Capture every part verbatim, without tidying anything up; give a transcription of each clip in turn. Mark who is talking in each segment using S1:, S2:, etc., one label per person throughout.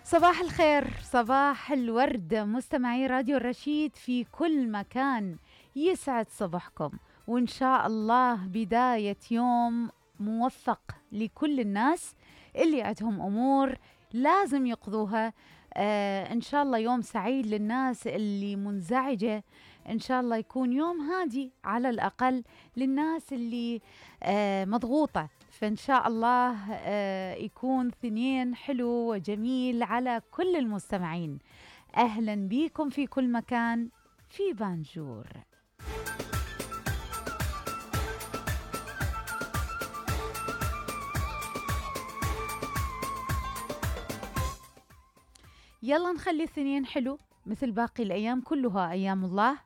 S1: صباح الخير، صباح الورد، مستمعي راديو الرشيد في كل مكان. يسعد صباحكم، وإن شاء الله بداية يوم موفق لكل الناس اللي عندهم أمور لازم يقضوها. آه إن شاء الله يوم سعيد للناس اللي منزعجة، إن شاء الله يكون يوم هادي على الأقل للناس اللي آه مضغوطة. فإن شاء الله آه يكون ثنين حلو وجميل على كل المستمعين. أهلا بيكم في كل مكان في بانجور. يلا نخلي الثنين حلو مثل باقي الأيام، كلها أيام الله.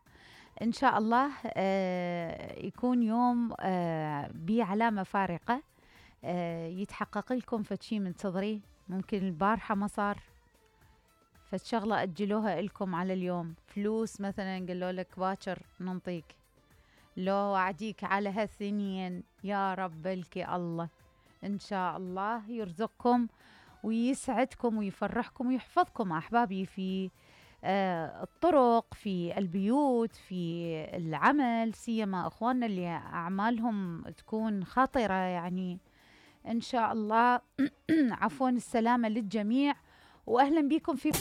S1: إن شاء الله آه يكون يوم آه بعلامة فارقة، آه يتحقق لكم فتشي من صدري. ممكن البارحة ما صار، فالشغلة أجلوها لكم على اليوم. فلوس مثلا قالوا لك باكر ننطيك، لو وعديك على هالثنين يا رب لك الله. إن شاء الله يرزقكم ويسعدكم ويفرحكم ويحفظكم أحبابي في آه الطرق، في البيوت، في العمل، سيما أخواننا اللي أعمالهم تكون خطرة يعني. إن شاء الله عفوا السلامة للجميع، وأهلا بكم في